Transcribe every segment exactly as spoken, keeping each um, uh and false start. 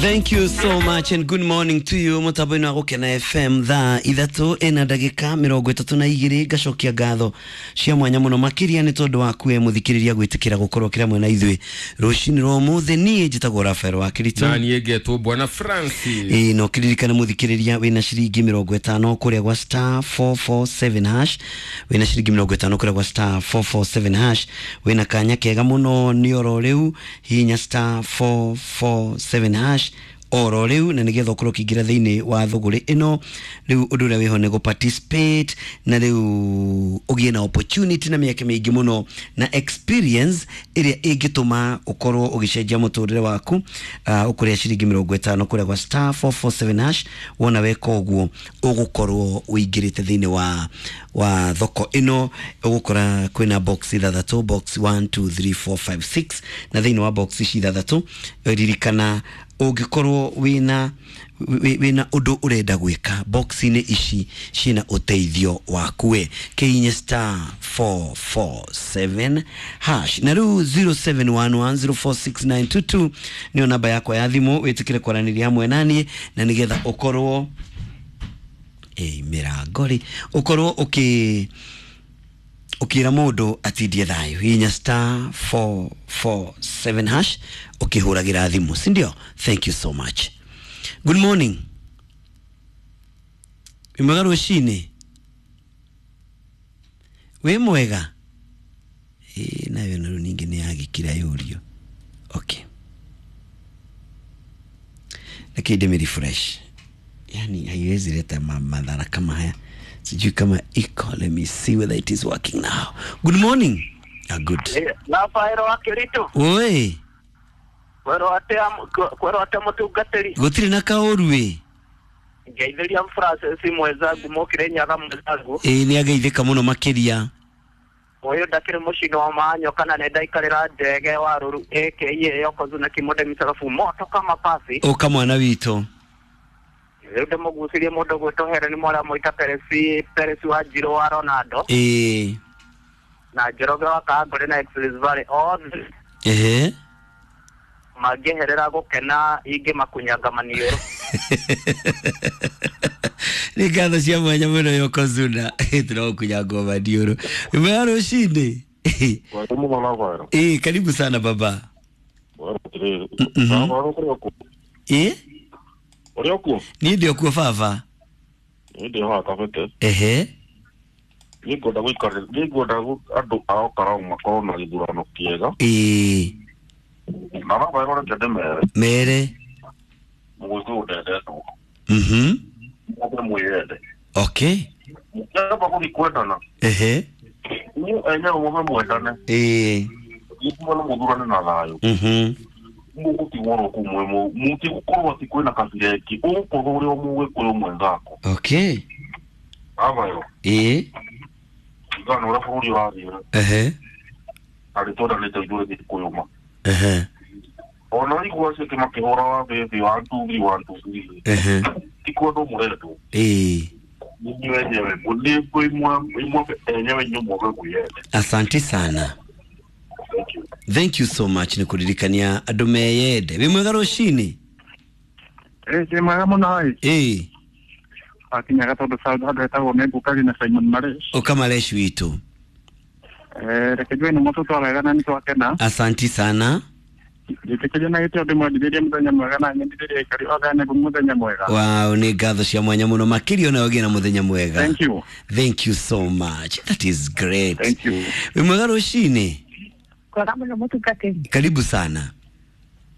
Thank you so much and good morning to you mutambo-inĩ wa Gũkena F M thaa ithatũ ĩna ndagĩka mĩrongo ĩtatũ na igĩrĩ. Ngacokia ngatho cia mwanya mũno makĩria nĩ tondũ waku we mũthikĩrĩria gwĩtĩkĩra gũkorwo kĩra mwena ithuĩ rũcinĩ rwa ũmũthĩ. Niĩ njĩtagwo Rafael wa Kirito na niĩ ngetwo Bwana Francis. Ĩĩ, no kĩririkane mũthikĩrĩria wĩna ciringi mĩrongo ĩtano kũrĩa gwa star four four seven hash, wĩna ciringi mĩrongo ĩtano kũrĩa gwa star four four seven hash, wĩna kanya kega mũno nĩ oro rĩu hihinya star four four seven hash oro rĩu, na nĩgetha ũkorwo ũkĩingĩra thĩinĩ wa thũgũrĩ ĩno. Rĩu ũndũ ũrĩa wĩho nĩ gũ participate na rĩu ũgĩe na opportunity na mĩeke mĩingĩ mũno na experience ĩrĩa ĩngĩtũma ũkorwo ũgĩcenjia mũtũrĩre waku. uh, ũkũrĩa ciringi mĩrongo ĩtano kũrĩa gwa star four four seven hash, wona weka ũguo ũgũkorwo ũingĩrĩte thĩinĩ wa, wa thoko ĩno. Ũgũkora kwĩna box ithathatũ, box one two three four five six, na thĩinĩ wa box ici ithathatũ ririkana ũngĩkorwo wĩna wĩna ũndũ ũrenda gwĩka, box-inĩ ici ciĩna ũteithio waku we. Kĩhihinye star four four seven hash. Na rĩu zero seven one one zero four six nine two two nĩyo namba yakwa ya thimũ, wĩtĩkĩre kwaranĩria hamwe naniĩ na nĩgetha ũkorwo ĩ mĩrango rĩ ũkorwo ũkĩ ukira mundu atindie thayo. Hihinya star four four seven hash ukihuragira thimu, si ndio? Thank you so much. Good morning. Wĩ mwega rũcinĩ? Wĩ mwega? Ĩ nayo na rĩu ningĩ nĩ yagĩkira yũrio. Okay, lakini ndĩmĩ refresh, yani haiwezi leta madhara kama haya. Sijui kama iko. Let me see whether it is working now. Good morning. Ah, good. Rafael wa Kirito. Oi. Kwero atia kwero atia mutungatiri. Gutiri na kaũru we. Ngeithiria Francis mwenzangu mokire nyaga mwenzangu. Ĩĩ nĩ ageithĩka mũno makĩria. Ũyũ ndakĩrĩ mũciĩ wa manyo kana nĩ ndaikarĩra ndege wa rũru A K A Yokozuna kĩmonde mĩcarabu moto kama pasi. Ũka mwana witũ. Rĩu ndĩmũgucĩrie mũndũ gwĩtwo Helen Mora Moita Peresi Peresi wa Njirũ wa Ronaldo. Ĩĩ. Na Njoroge wa Kangũrĩ na Express Valley othe. Ehe. Mangĩeherera gũkena ingĩ makunyanga maniũrũ. Nĩ ngatho cia mwanya mũno Yokozuna. Tũragũkunyanga maniũrũ. Wĩ mwega rũcinĩ? Ĩĩ, karibu sana baba. Ĩĩ? Ũrĩ okuo? Niĩ ndĩ okuo baba. Niĩ ndĩ haha kabete. Ehe. Niĩ ngwenda gũikarĩra, niĩ ngwenda andũ a Olkalau makorwo na gĩthurano kĩega. Ĩĩ. Na Rafael reke ndĩmere. Mere. Mũgĩkũyũ ndendetwo. Mhm. Mũndũ mwĩyende. Okay. Mũkĩamba gũthiĩ kwendana. Ehe. Inyuĩ enyewe mũbe mwendane. Ĩĩ. Gĩthurano mũthurane na thayũ. Mhm. Mũgũtigwo oro kũu mwĩ mũtigũkorwo atĩ kwĩna kabira ĩngĩ, ũgũkorwo ũrĩ o mũgĩkũyũ mwenzako. Okay. Rafael. Ĩĩ. Ringana na ũrĩa bũrũri ũrathiĩ. Ehe. Na nĩ twendanĩte ithuĩ Gĩkũyũ ma. Ehe. Ona igua acio angĩ makĩhũra wa bĩbĩ one two three one two three. Ehe. Ti kwendwo mũrendwo. Ĩĩ. Inyuĩ enyewe nĩ imwe enyewe inyuĩ mwage mwĩyende. Asante sana. Thank you. Thank you so much nĩ kũririkania andũ meyende. Wĩ mwega rũcinĩ? Ĩĩ ndĩ mwega mũno ĩ. Ĩĩ. Akinyaga tondũ handũ hetagwo Nĩngũkagi na Simon Maresh. Ũka Maresh witũ. Eh, reke njue nĩ mũtũ wega na nĩ twakena. Asanti sana. Njĩtĩkĩrie na gĩtĩo ndĩmwendithĩrie mũthenya mwega na nyendithĩrie aikari othe a Nĩngũ mũthenya mwega. Wow, nĩ ngatho cia mwanya mũno makĩria ona ũgĩe na mũthenya mwega. Thank you. Thank you so much. That is great. Thank you. Wĩ mwega rũcinĩ? Kwega mũno mũtungatĩri. Karibu sana.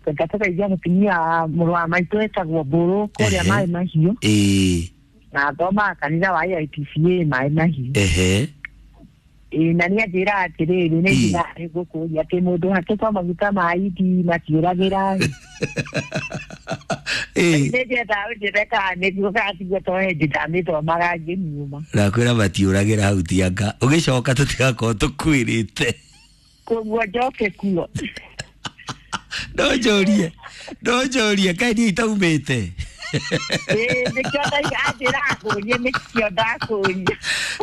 Ngatũgeithia mũtumia mũrũ wa maitũ etagwo Mbũrũ kũrĩa Ehe. Maĩ Mahiũ. Ĩĩ. Na athomaga kanitha wa A I P C A Maĩ Mahiũ. Ehe. Ĩĩ, na nĩ anjĩraga atĩrĩrĩ, nĩ Ĩĩ. nginya ngũkũria atĩ mũndũ hakĩtwo maguta ma indi matiũragĩra. Ĩĩ. Nĩ ndĩendaga ũnjĩre kana nĩguo kana tiguo tondũ hĩndĩ ndamĩthomaga ngĩmiuma. Ndakwĩra matiũragĩra hau tianga. Ũgĩcoka tũtigakorwo tũkwĩrĩte. Koguo njoke kuo. No njũrie, no njũrie, kaĩ niĩ itaumĩte? Ĩĩ, nĩkĩo ndauga anjĩraga ngũrie, nĩkĩo ndakũria.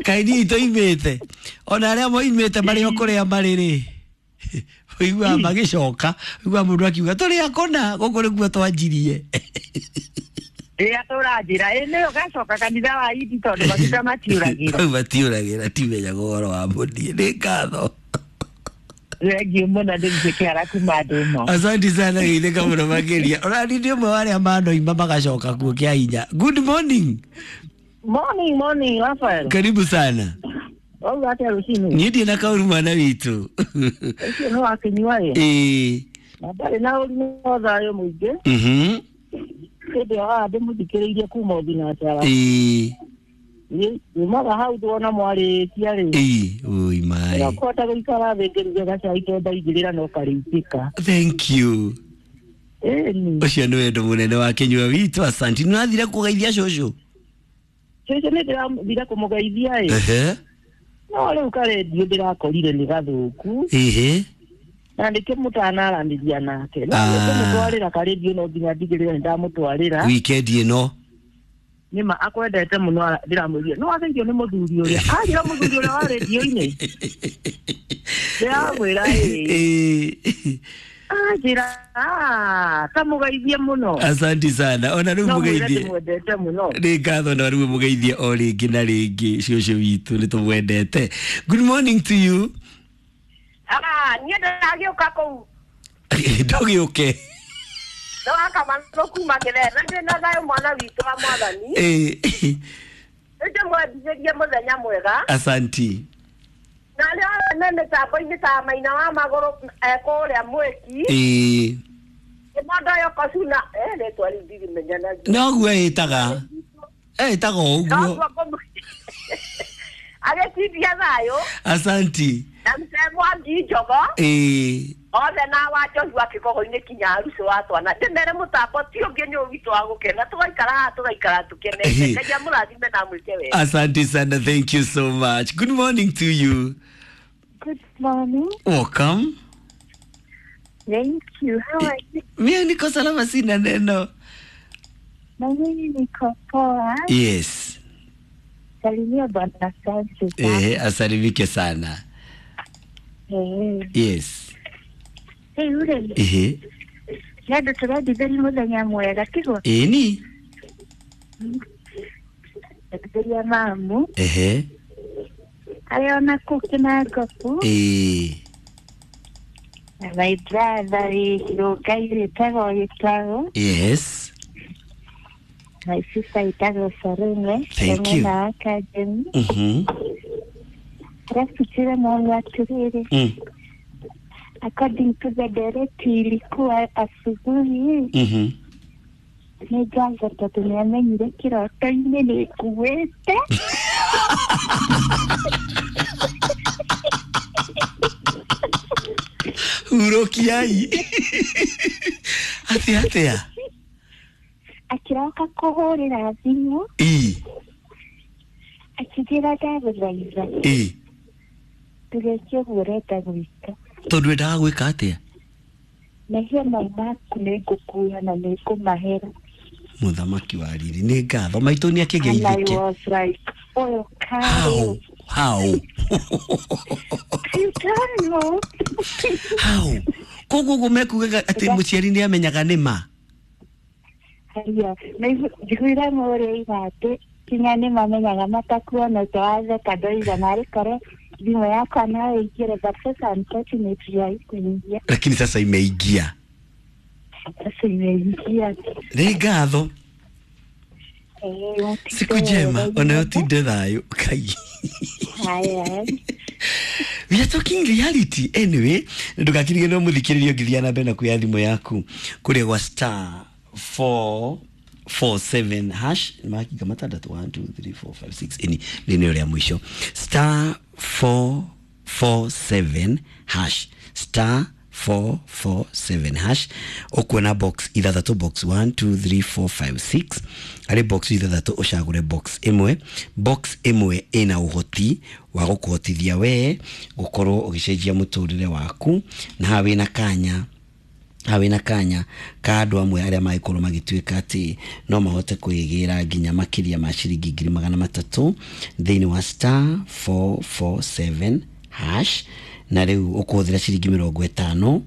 Kaĩ niĩ itoimĩte? Ona arĩa moimĩte marĩ o kũrĩa marĩ rĩ, Ũiguaga magĩcoka, ũiguaga mũndũ akiuga tũrĩ akona gũkũ nĩkuo twanjirie. Rĩrĩa tũranjĩra ĩ nĩyo gacoka kanitha wa indi tondũ maguta matiũragĩra. Hau matiũragĩra, timenyaga ũhoro wa mũniĩ. Nĩ ngatho. Thengiũ mũno ndĩrutĩ kĩara kuma ndũma. Asante sana, geithĩka mũno makĩria. Ũrani nĩ ũmwe wa arĩa manoima magacoka kuo kĩa hinya. Good morning. Morning, morning, Rafael. Karibu sana. Wauga atĩa rũcinĩ? Niĩ ndirĩ na kaũru mwana witũ. Ũcio nĩ wakĩnyua ĩ. Ĩĩ. Na ndarĩ na ũru no thayũ mũingĩ. Mhm. Hĩndĩ ĩyo haha ndĩmũthikĩrĩirie kuma Ũthinacara. Ĩĩ. Yumaga hau ndwona mwarĩkia rĩ. Ĩĩ, oi mai. Ndakũhota gũikara thĩ ngĩruge gacai tondũ ndaigĩrĩra no karĩitĩka. Thank you. Ĩni. Ũcio nĩ wendo mũnene wa kĩnyua witũ. Asante. Nĩ ũrathire kũgeithia cũcũ? Cũcũ nĩ ndĩrathire kũmũgeithia ĩ. Ehe. No rĩu karendio ndĩrakorire nĩ gathũku. Ĩhĩ. Na nĩkĩo mũtanaranĩria nake. No Ah. nĩkũmũtwarĩra karendio no nginya ndigĩrĩre nĩ ndamũtwarĩra. Weekend ĩno. Nĩma akwendete mũno ara- ndĩramwĩrire no wageithio nĩ mũthuri ũrĩa. Anjĩra mũthuri ũrĩa wa rendio-inĩ. Ndĩramwĩra ĩ. Ĩĩ. Anjĩra "Ah, ta mũgeithie mũno." Asante sana. Ona rĩu No mwĩre mũgeithie. ndĩmwendete mũno. Nĩ ngatho na rĩu mũgeithie o rĩngĩ na rĩngĩ cũcũ witũ nĩ tũmwendete. Good morning to you. Ah, niĩ ndĩragĩũka kũu Ndũgĩũke. ndĩrakamanũ kuma kĩrere na ndĩna thayũ mwana witũ wa mwathani. Ĩĩ. Nĩndĩmwendithĩrie mũthenya mwega. Asanti. Na arĩa othe me mĩtambo-inĩ ta Maina wa Magũrũ e kũrĩa Mwĩki. Ĩĩ. Kĩmondo Yokosuna, eh, rĩtwa rĩu ndirimenya. Noguo ĩtaga. Ĩtaga o ũguo. Noguo ngũmũ- agĩtindia thayũ. Asanti. Na mzee Mwangi Njogo. Ĩĩ. Othe na wa Joshua kĩgogo-inĩ kinya aruci wa twana ndĩmere mũtambo ti ũngĩ nĩ ũyũ witũ wa gũkena tũgaikara haha tũgaikara tũkenete. Ngai amũrathime na amwĩke wega. Asante sana. Thank you so much. Good morning to you. Good morning. Welcome. Thank you. How are you? Mimi niko salama, sina neno. Na mimi niko poa. Yes. Salimia Bwana Francis. Eh, asalimike sana. Eh. Yes. Hey, ure. Ehe. Nĩ andũ tũrendithĩria mũthenya mwega tiguo? Ĩni. Ndithĩria mamu Ehe. arĩa ona kũu Kĩnangobu Ĩĩ. na my brother wĩ Rũngai wĩtagwo Gĩtaũ. Yes. My sister ĩtagwo Sarume. Thank you. Mwena wa Kajemi. Mhm. Alafu tena mamu atĩrĩrĩ, Mm. according to the directive ilikuwa asubuhi Mhm. nĩ ngatho tondũ nĩ amenyire kĩroto-inĩ nĩ nguĩte. Hurokiai. Atia atia. Akĩroka kũhũrĩra thimũ Ĩĩ. akĩnjĩra ndagũthaitha Ĩĩ. ndũgeke ũguo ũrenda gwĩka. Tondũ endaga gwĩka atĩa? Mehia mau maku nĩ ngũkua na nĩ ngũmahera. Mũthamaki wa riri nĩ ngatho maitũ nĩ And I akĩgeithĩke. was like, ũyũ How? karĩ How? You don't know. How? Koguo ũguo mekugaga atĩ mũciari nĩ amenyaga nĩ ma. Haya, njiguire mũrĩa atĩ kinya nĩ mamenyaga matakuona watheka ndoiga narĩ korwo thimũ yakwa no ĩingĩre, but sasa unfortunately haikuingia. Lakini sasa imeingia. Sasa imeingia. Nĩ ngatho. Eh, Siku njema onayo tinde thayũ kai. Haya. We are talking reality anyway. Ndũgakirige no mũthikĩrĩrio ngĩthiĩ na mbere na kuoya thimũ yaku kũrĩa gwa star four four seven hash makinga matandatũ one two three four five six ini rĩnĩ rĩa mũico star four four seven hash star four four seven hash ũkuona box ithathatũ, box one two three four five six. Harĩ box ithathatũ ũcagũre box ĩmwe. Box ĩmwe ĩna ũhoti wa gũkũhotithia wee gũkorwo ũgĩcenjia mũtũrĩre waku, na haha wĩna kanya haha wĩna kanya ka andũ amwe arĩa mangĩkorwo magĩtuĩka atĩ no mahote kwĩgĩra nginya makĩria ma ciringi ngiri magana matatũ thĩinĩ wa star four four seven hash. Na rĩu ũkũhũthĩra ciringi mĩrongo ĩtano,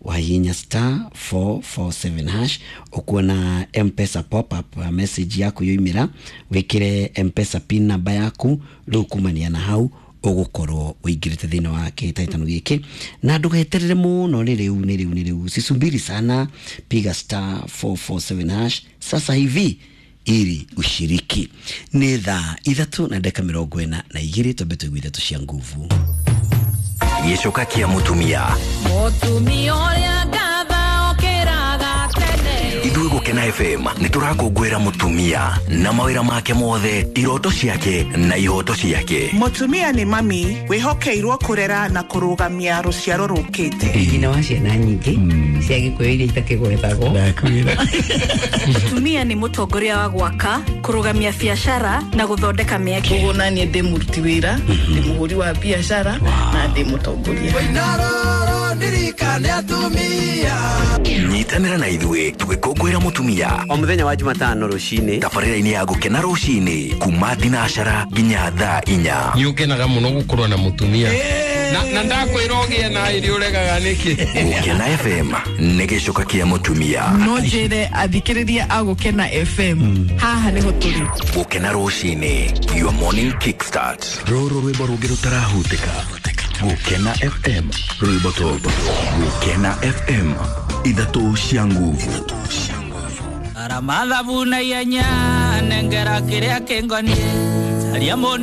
wahihinya star four four seven hash, ũkuona M-Pesa pop up message yaku yoimĩra, wĩkĩre M-Pesa pin namba yaku. Rĩu kumania na hau ũgũkorwo ũingĩrĩte thĩinĩ wa kĩhĩtahĩtano gĩkĩ, na ndũgeterere mũno, nĩ rĩu nĩ rĩu nĩ rĩu, sisubiri sana, piga star four four seven hash sasa hivi ili ushiriki. Nĩ thaa ithatũ na ndagĩka mĩrongo ĩna na igĩrĩ, twambe tũigue ithatũ cia nguvu. Gĩcoka kĩa mũtumia. Mũtumia ũrĩa ngatha okĩraga tene. Ithuĩ Gũkena F M nĩ tũrakũngũĩra mũtumia na mawĩra make mothe, iroto ciake na ihoto ciake. Mũtumia nĩ mami wĩhokeirwo kũrera na kũrũgamia rũciaro rũkĩte. Nyina wa ciana nyingĩ cia Gĩkũyũ iria itakĩgwetagwo. Mũtumia nĩ mũtongoria wa gwaka, kũrũgamia biacara na gũthondeka mĩeke. Koguo naniĩ ndĩ mũruti wĩra, ndĩ mũhũri wa biacara na ndĩ mũtongoria. Nyitanĩra na ithuĩ tũgĩkũngũĩra mũtumia o mũthenya wa Jumatano rũcinĩ, tabarĩra-inĩ ya Gũkena rũcinĩ kuma thinacara nginya thaa inya. Nĩ ũkenaga mũno gũkorwo na mũtumia na na ndakwĩra ũgĩe na irio ũregaga nĩkĩ. Gũkena F M nĩ gĩcoka kĩa mũtumia. No njĩre athikĩrĩria a Gũkena F M haha nĩho tũrĩ. Gũkena rũcinĩ, your morning kickstart. Rũrũ rwĩmbo rũngĩ rũtarahutĩka. Gũkena F M, rwĩmbo top. Gũkena F M, ithatũ cia nguvu. Aramathabu na ihenya nengera kĩrĩa kĩngoniĩ caria mũndũ.